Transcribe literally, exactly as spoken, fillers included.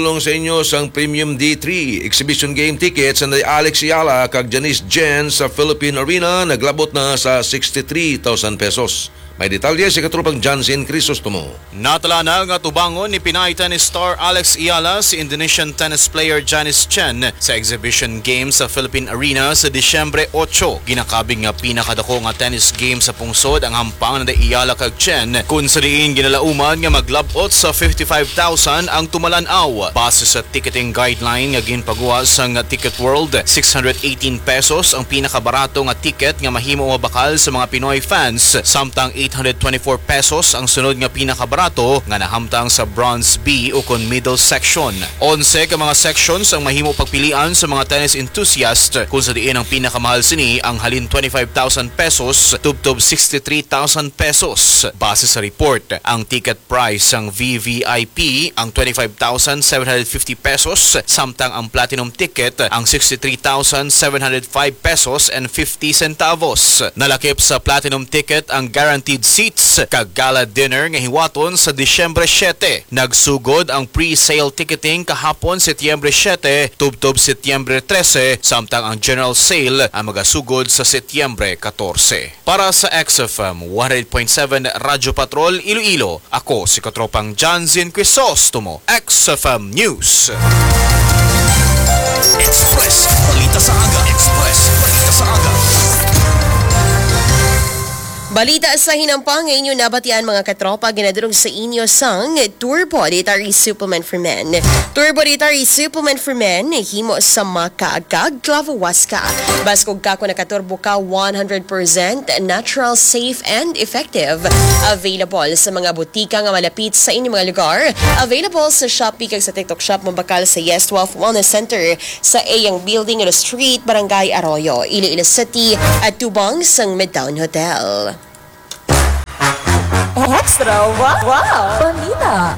Tulong sa inyo sang Premium D three Exhibition Game tickets ni Alex Ayala kag Janice Jen sa Philippine Arena naglabot na sa sixty-three thousand pesos. May detalye si katropang Jansen Crisostomo. Natala na nga tubangon ni Pinay tennis star Alex Ayala si Indonesian tennis player Janice Chen sa exhibition game sa Philippine Arena sa Disyembre ocho. Ginakabig nga pinakadako nga tennis game sa pungsod ang hampang ni Ayala kag Chen, kun sa diin ginalauman nga maglabot sa fifty-five thousand ang tumalan-aw. Base sa ticketing guideline nga ginpaguwa sang Ticket World, six hundred eighteen pesos ang pinakabarato nga ticket nga mahimo mabakal sa mga Pinoy fans, samtang eight hundred twenty-four pesos ang sunod nga pinakabarato nga nahamtang sa bronze B ukon middle section. Onse ka mga sections ang mahimo pagpilian sa mga tennis enthusiast, kung sa diin ang pinakamahal sini ang halin twenty-five thousand pesos tubtob sixty-three thousand pesos. Base sa report, ang ticket price sang V V I P ang twenty-five thousand seven hundred fifty pesos, samtang ang platinum ticket ang sixty-three thousand seven hundred five pesos and fifty centavos. Nalakip sa platinum ticket ang guaranteed seats kag gala dinner nga hiwaton sa Disyembre siete. Nagsugod ang pre-sale ticketing kahapon, Setyembre siete, tubtob Setyembre trese, samtang ang general sale ang magasugod sa Setyembre katorse. Para sa X F M one hundred point seven Radyo Patrol Iloilo, ako si Katropang Janzin Crisostomo, X F M News. Express Balita sa Aga. Express Balita sa Aga. Balita sa hinampang nga inyo nabatian, mga katropa, ginadulong sa inyo sang Turbo Dietary Supplement for Men. Turbo Dietary Supplement for Men, himo sa maca kag clavo huasca. Baskog ka kon nakaturbo ka, one hundred percent natural, safe, and effective. Available sa mga butika nga malapit sa inyong mga lugar. Available sa Shopee kag sa TikTok Shop, mabakal sa Yes Twelve Wellness Center sa Eyang Building, Ilo Street, Barangay Arroyo, Iloilo City, atubang sang Midtown Hotel. Extra wow, wow. Balita.